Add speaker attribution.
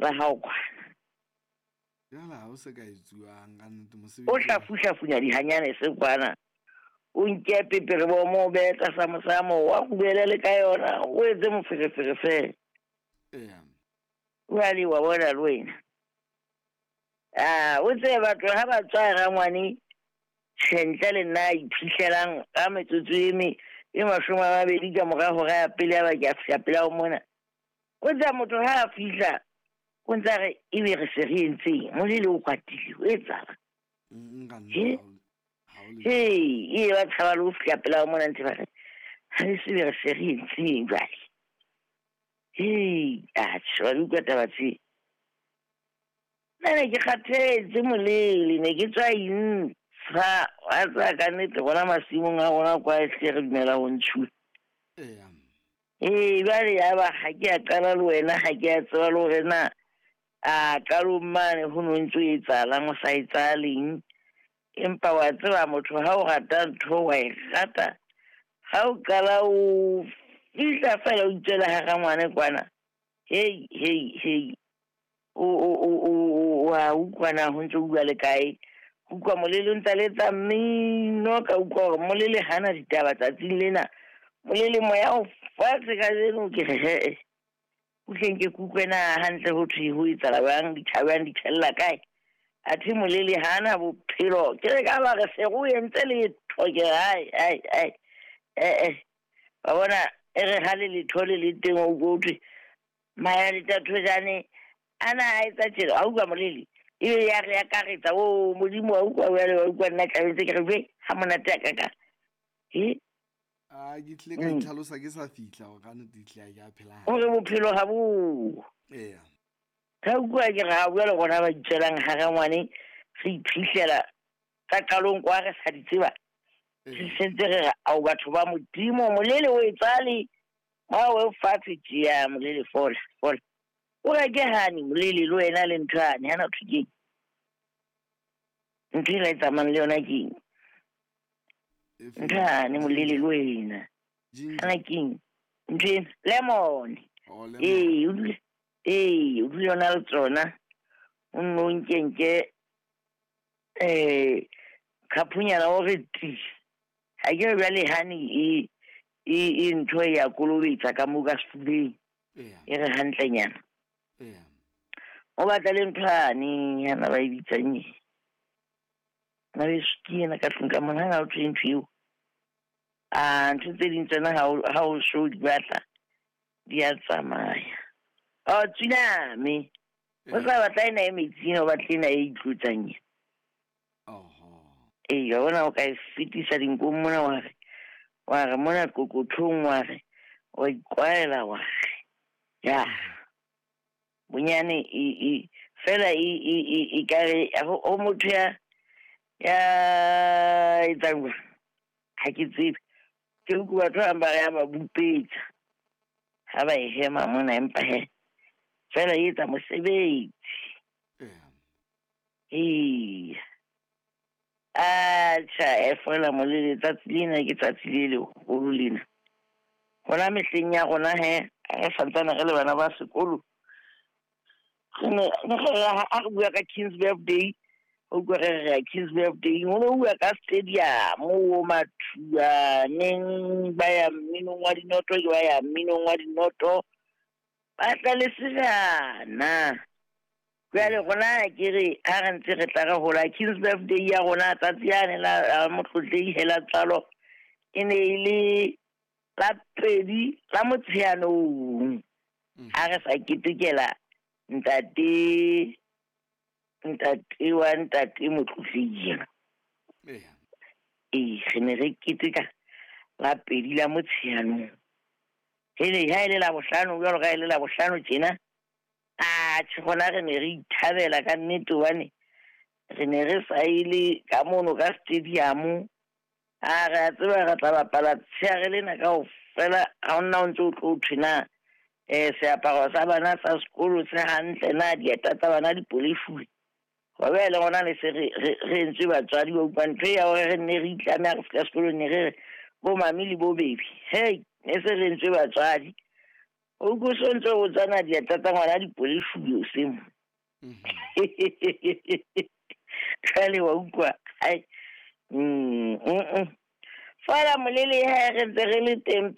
Speaker 1: La hao kwana.
Speaker 2: Jwale ha o se ka etsuwang ka nnete
Speaker 1: O
Speaker 2: mosebetsi.
Speaker 1: hlafuhlafunya dihanyane se kwana. O nke pepere bo mo behe tlasa mosamo, wa kubele le ka yona, o etse moferefere fela.
Speaker 2: Eya.
Speaker 1: Jwale wa bona le wena. Ah, o tsebe batho ha ba tswa rangwane, tjhe ntle le nna a iphitlhelang ka metsotso e me e 20 ka mora hora ya pele ya ba ke a fihla pela ho mona. O tseba motho ha a fihla, o ntsa re ebe re se re entseng, molele o kwatile, o etsahala.
Speaker 2: Nka
Speaker 1: He?
Speaker 2: nnete ha o le.
Speaker 1: Hei, e ba tshaba le ho fihla pela ho mona ntse ba re, ha re se be re se re entseng jwale. Hei, atjhe, wa di utlwa taba tse. Nna ne ke kgathetse molele, ne ke tswa intsha, wa tseba ka nnete rona masimong a rona kwa ehlile re dumela ho ntshuwa.
Speaker 2: Eya.
Speaker 1: Ee, jwale ya ba ha ke a qala le wena, ha ke a tseba le hore na a qalong mane ho no ntso etsahalang, o sa etsahaleng. Empa wa tseba motho ha o rata ntho wa e rata. Ha o qala o fihla fela o itswela hara ngwane kwana. Hei, hei, hei. O a utlwa na ho ntso bua le kae. Utlwa molele o ntsa letsa mmino, ka utlwa hore molele hana ditaba tsatsing lena. Molele moya o fatshe kajeno, ke re he. Utleng ke kutlwe na hantle ho thwe ho etsahala jwang, dithabang di tjhella kae. Athe molele hana bophelo. Ke re ka ba re se re o entse letho, ke re ai, ai, ai. Eh, eh. Wa bona, e re ha le letho le le teng o utlwe ho thwe, Maya le Thathojane, ana a etsa tjena, wa utlwa molele? Ebe ya re akaretsa, o Modimo wa utlwa jwale, wa utlwa nna tlametse ke re, jwe, ha monate a kaka. He?
Speaker 2: A ke tlile ka itlhalosa ke sa fihla hore ka nnete ehlile ha ke a phela
Speaker 1: Hore
Speaker 2: hantle.
Speaker 1: bophelo ha bo.
Speaker 2: Eya.
Speaker 1: Ka utlwa ke re ha jwale rona ba itswelang hara ngwane, re iphihlela ka qalong kwa re sa di tseba. Re
Speaker 2: Eya.
Speaker 1: sentse re re, ao batho ba Modimo, molele o etsale, ba o fatshe tjea, molele fola, fola. O reke hane molele le wena le ntho yane, hana thwe keng? Ntho e la e tsamayang le yona keng?
Speaker 2: E feng?
Speaker 1: Ntho yane molele le wena.
Speaker 2: Ginger.
Speaker 1: Hana keng? Ntho ena, lemon.
Speaker 2: Oh, lemon.
Speaker 1: Ee, o dule, ee, o dule o na le tsona. O nno o nke nke, khaphunyana o re ti. Ha ke re jwale hane e ntho e ya kolobetsa ka moo ka sefubeng.
Speaker 2: Eya.
Speaker 1: E re hantlenyana.
Speaker 2: Eya.
Speaker 1: O batla le ntho yane, hana ba e bitsang eng? Na beso ke ena ka tlung ka mona, hana ho thwe ntho eo. Ah, ntho tse ding tsona ha o so di batla, di a tsamaya. Oh, tsunami. O sa batla ena e metsing, o batla ena e itlotsang ena.
Speaker 2: Oho.
Speaker 1: Ee, wa bona o ka e fetisa dinkong mona wa re, wa re mona qoqothong wa re, wa ikwaela wa re. Ya. Bonyane e fela e ka re ho motho ya etsang jwang? Ha ke tsebe. Ke utlwa batho ba bang ba re ya ba bupetsa. Ha ba e hema mona, empa he fela e etsa mosebetsi.
Speaker 2: Eya.
Speaker 1: Ee. Atjha, e fola molele tsatsi lena ke tsatsi le leholo lena. Hona mehleng ya rona he, re santsane re le bana ba sekolo. Re ne re ha re bua ka King's birthday, o utlwa re re ya King's birthday, ho no bua ka stadium, o mathua, neng ba ya mminong wa dinoto, ke ba ya mminong wa dinoto. Ba tla le sejana. Jwale rona ke re ha re ntse re tla re hola King's birthday ya rona tsatsi yane la motlotlehi hela tswalo e ne e le la 2 la Motsheanong. Ha re sa ketekela ntate wa ntate motlotlehi ena.
Speaker 2: Eya.
Speaker 1: Ee, re ne re keteka la 2 la Motsheanong. Hele, ha e le la bohlano, jwalo ka e le la bohlano tjena. Atjhe, rona re ne re ithabela ka nnete hobane re ne re sa ile ka mono ka stadium. A re a tseba re tla bapala tsheare lena kaofela, ha hona o ntso o tlo thwe na, seaparo sa bana sa sekolo se hantle na, dieta tsa bana di polefuwe. Hoba le rona ne se re entswe batswadi ba utlwa ntho ya hore re nne re itlame ha re fihla sekolong, ne re re bo mami le bo baby. Hey, ne se re entswe batswadi. O utlwe so ntse o tsana diatla tsa ngwana dipolefulo semo. Jwale wa utlwa ai. Fela molele ha re ntse re le teng.